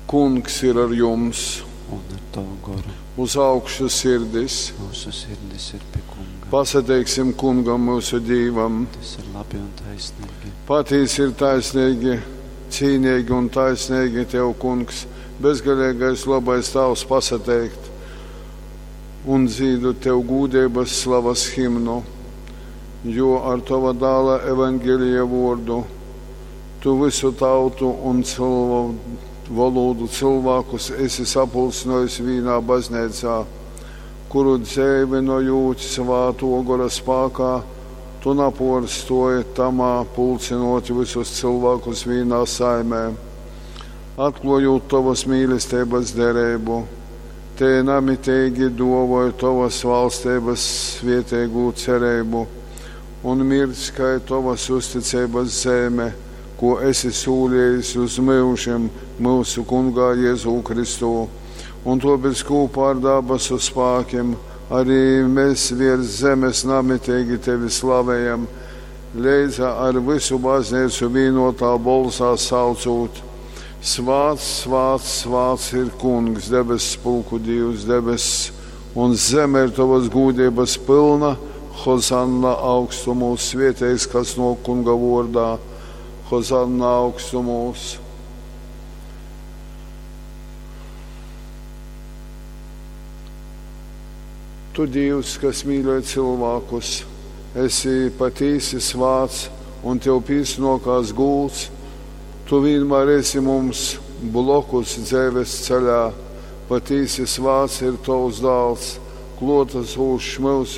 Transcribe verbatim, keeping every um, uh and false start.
Kungs ir ar jums! Un ar tavu goru. Uz augšu sirdis! Mūsu sirdis ir pie Kunga. Pasateiksim Kungam mūsu Dīvam! Tas ir labi un taisnīgi. Patīsi ir taisnīgi, cīnīgi un taisnīgi Tev, Kungs, bezgalīgais labais Tavs pasateikt un dzīdu Tev gūdības slavas himnu, jo ar Tava dāla evaņģēlija vārdu Tu visu tautu un cilvēku valodu cilvēkus esi sapulcinājis vīnā baznīcā, kuru dzēvinojot svāto gora spākā, tu naporstoji tamā pulcinot visus cilvēkus vīnā saimē, atklājot tavas mīlestības derību. Te namitīgi dovoju tavas valstības svietēgu cerību un mirdz, kai tavas uzticības zeme, ko esi sūlījis uz mūžiem mūsu kungā Jēzū Kristū. Un tāpēc kopā ar dabasu spēkiem arī mēs virs zemes namitīgi tevi slavējam, leidza ar visu baznīcu vienotā bolsā saucot. Svāts, svāts, svāts ir kungs, debes pulku Dievs, debes un zeme ir tavas gūdības pilna. Hozanna augstumūs, svietējs, kas no kunga vārdā. Hozanna augstumūs. Tu, Dievs, kas mīļoji cilvēkus, esi patīsi svāts un tev pīsnokās gults. Tu vienmēr esi mums blokus dzīves ceļā. Patīsi svāts ir tavs dāls, klotas ūšs mūsu